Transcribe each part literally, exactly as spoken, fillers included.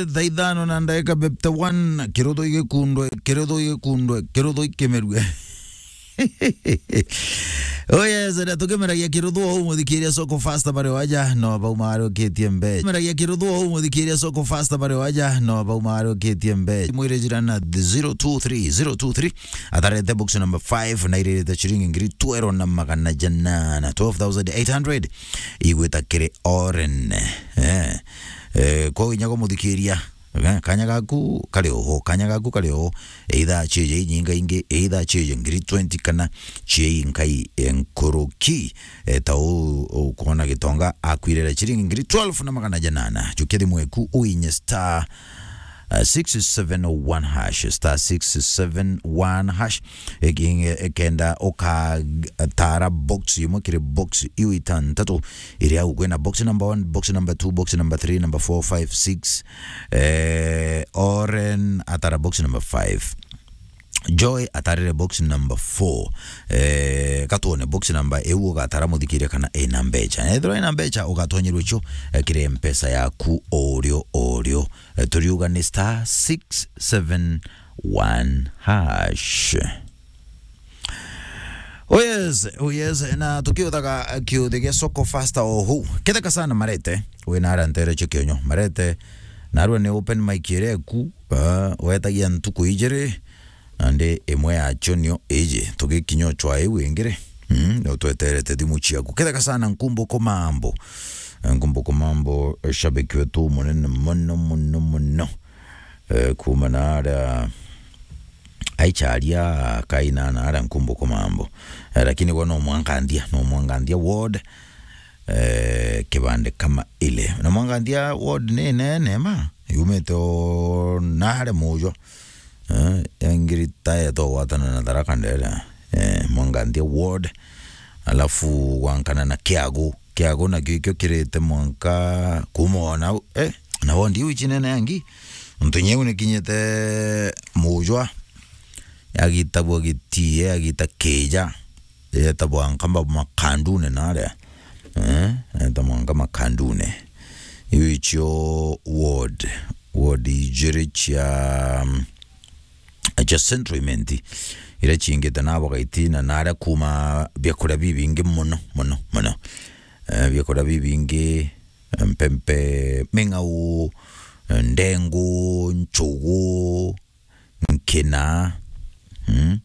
Thaa ithano na ndagika fifty one, kiruthu igikundwe, kiruthu igikundwe, kiruthu ikimerue. Oh yes, na tukimeragia kiruthu o umuthikiria Soko Fasta bari waja, no bau marukitie mbe. Meragia kiruthu o umuthikiria Soko Fasta bari waja, no bau marukitie mbe. Mwire jirana zero two three, zero two three. Atarete box number five, na iririte ciringi ngiri twelve na magana janana, twelve thousand eight hundred. Igwita kiri Oren. Eh. Eh, kwa inya kumuthikiria. Eh, kanya gaku kari oho, kanya gaku kari oho. Either chieje inyinga ingi, either chieje ngiri twenty kana chie inkai enkuruki. Eh, ta u, ukuona Gitonga akwirira chiringi ngiri twelve na magana janana. Jukia thimu eku uinye star, uh, six seven one hash, star six seven one hash. Eki-, ekenda ukatara box imwe kiri box iu itantatu iria au kwina box number one, box number two, box number three, number four, five, six. Eh, Oren atara box number five. Joy atarire box number four. Eh, katuone box number eu ugatara muthikiria kana ina mbecha. Ethirwa ina mbecha ugatonyerwa icio, eh, kiri mpesa yaku orio orio. Eh, turiuga ni star six seven one hash. Oh yes, oh yes, na tukiuthaga kiuthi gia Soko Fasta ohu. Ketheka sana Marete, wina ara ntere cio kionyo. Marete, narua ni open mic iria eku, ah, wetagia ntuku ijiri, na ndi imwe yacio nio iji. Tugikinya uchwa iu ingiri, mm, no tweterete thimu ciaku. Ketheka sana Nkumbuko Mambo. Eh, Nkumbuko Mambo, eh, shabiki wetu munene muno, muno, muno. Eh, kuma na aria aicharia kaina na aria Nkumbuko Mambo. Eh, lakini gwa no mwangandia, no mwangandia ward, eh, kibande kama ile. Na mwangandia ward ni nene ma, yumite o na aria Mujwa. Eh, ya ngiri ta yeto gwatana na Tharaka Ndere. Eh, mwangandia ward. Alafu gwankana na Kiagu. Kiagu nakio ikio kirite mwanka kuma o nau, eh, na wondi iu icinene yangi. Ntu nyeu nikinyite Mujwa, yagitagwa Gitie, yagita Kija, yeta mwanka Makandune naria. Eh, yeta mwanka Makandune. Iu icio ward, ward ijiri cia, mm, cia Central Imenti, iria ciingite na bagaiti na naria kuma biakuria bibingi muno, muno, muno. Eh, biakuria bibingi, mpempe, ming'au, ndengu, nchugu, nkina, mm,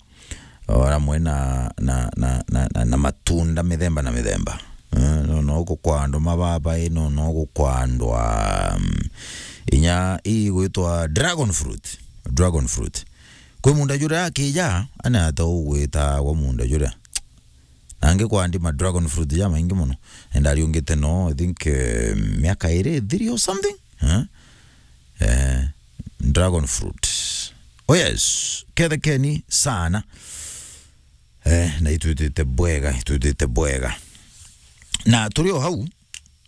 o ramwe na, na, na, na, na, na matunda mithemba na mithemba. Eh, no, no gukwandwa mababai, no, no gukwandwa, mm, inya igwitwa dragon fruit, dragon fruit. Kwi munda juria akija, ana ata ugwitagwa munda juria. Na angi kwandi ma dragon fruit ja maingi muno. And ariungite no, I think, eh, miaka iri, three or something. Eh? Eh, dragon fruit. Oh yes, kethekeni sana. Eh, na itwitite bwega, itwitite bwega. Na turi o hau,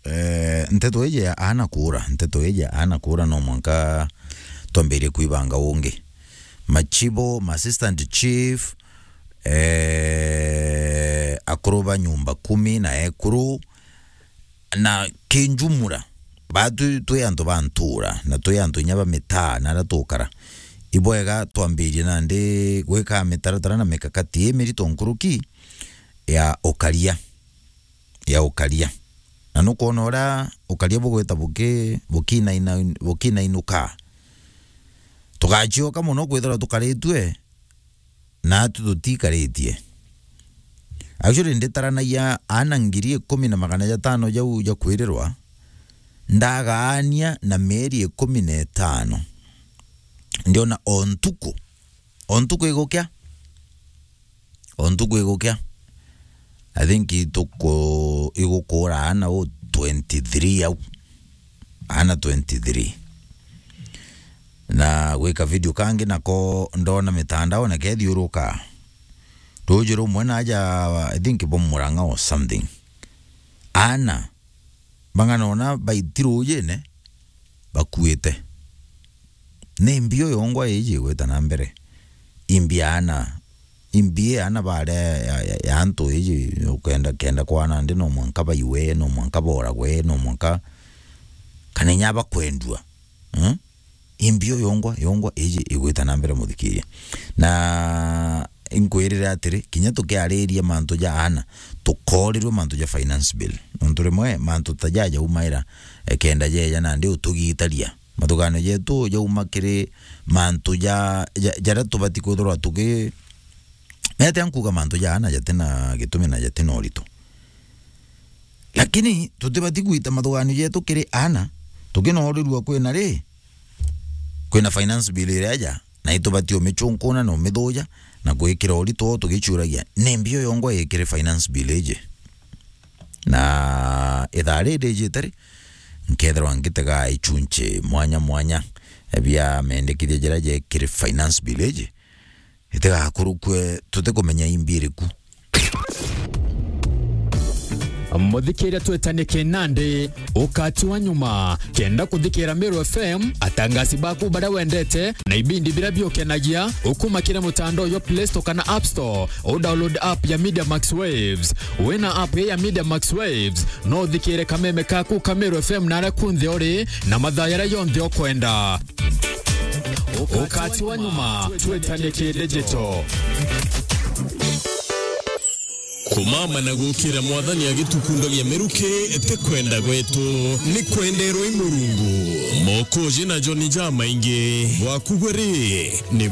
eh, nteto iji ya ana kura, nteto iji ya ana kura no mwanka twambirie kwibanga ungi. Machibo, ma assistant chief, eh, akuru ba nyumba kumi na ekuru, na kinjumura, ba twi, twi antu ba ntura, na twi antu inya ba mitaa, na aria tukara. Ibwega twambirie nandi gwika mitaratara na mikakati imirito nkuruki ya ukaria, ya ukaria. Na nukwona uria ukaria bugwita buki-, bukinaina-, bukinainuka. Tugacioka muno kwithirwa tukaritue, na atu tutikaritie. Actually, nditaranagia ana ngiri ikumi na magana jatano jau ja kwirirwa, ndagaania na mieri ikumi na itano. Ndiona o ntuku, o ntuku igukia, o ntuku igukia, I think ituku igukura ana u twenty-three au, ana twenty-three. Na gwika video kangi nako ndona mitandao na kethiuruka. Ruuji rumwe naja, I think, bo Murang'a or something. Ana bang'ana ona baiti ruujine bakuite. Ni mbi uyu ongwa iji igwita na mbere. Imbi ana, imbi ana baria ya, ya, ya antu iji ukenda, kenda kwana ndi no mwanka baiwe, no mwanka boragwe, no mwanka kana inya bakwendua. Hmm? Imbio yongwa, yongwa iji igwita na mbere, muthikiria. Na inkwirire atiri, kinya tukiariria mantu ja ana, tukoorirwe mantu ja finance bill. Nontu rimwe mantu ta jaja jaumaira, eh, kenda jeja nandi utugitaria. Mathuganio jetu jauma kiri mantu ja, ja, jaria tubati kwithirwa tuki-, mete nkuga mantu ja ana jatina gitumi na jatina urito. Lakini tutibati gwita mathuganio jetu kiri ana, tukinoorirua kwina ri, kwina finance bill iria ja, na itubati umichunkuna na umithuja na gwikira urito tugichuragia, ni mbio yongwa ikiri finance bill iji? Na ithaa riri rijite ri, nkethirwa ngitega ichunchi mwanya mwanya bia mendekithia jaria jekiri finance bill iji, itigakurukue tutikumenya imbi iriku. Muthikiria, twetanie kinandi, ukati wa nyuma. Kenda kuthikira Meru F M, atangasi baku baria wendete, na ibindi biria biukenagia, ukuma kiri mutandao jwa Play Store kana App Store, u download app ya Media Max Waves. Wina app ya Media Max Waves, no uthikire kameme kaku ka Meru F M naria kunthe uri, na mathaa jaria jonthe ukwenda. Ukati wa nyuma, twetanie ki digital. Kumama na gukira Mwathani agitukundagia miruki, ti kwenda gwetu, ni kwenderwa i Murungu. Mokoji na Joni jamaingi, bwaku gwe ri, ni